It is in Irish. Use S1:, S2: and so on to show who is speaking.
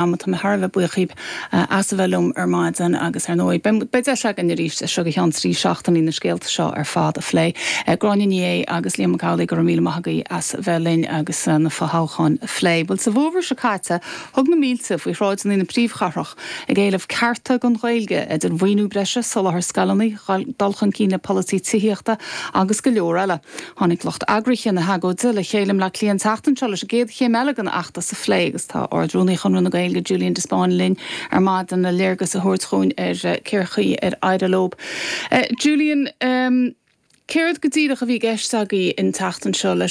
S1: Ama. Tá mé thar a bheith buíoch díbh as a bheith liom ar maidin agus ar ndóigh beidh deis againn arís as seo go ceann 3 seachtainí na scéalta seo ar fad a phlé. Gráinne Ní Aodha agus Liam Mac Amhlaigh, go raibh míle maith agaibh as a bheith linn agus na fothoghcháin a phlé. Bhuel, sa bhfómhar seo caite, thug na mílte faoi shráideanna na príomhchathrach ag éileamh cearta don Ghaeilge, idir mhaoiniú breise, soláthar scoileanna, dul chun cinn le polasaí tithíochta agus go leor eile. Tháinig lucht eagraithe na hagóide le chéile i mBleá Cliath an tseachtain seo leis an gcéad chéim eile den fheachtas a phlé agus tá Ard-Rúnaí Chonradh na Gaeilge, Julian de Spáinn linn ar maidin le léargas a thabhairt dhúinn ar cén chaoi ar éirigh leo. Julian, céard go díreach a bhí i gceist agaibh an tseachtain seo leis?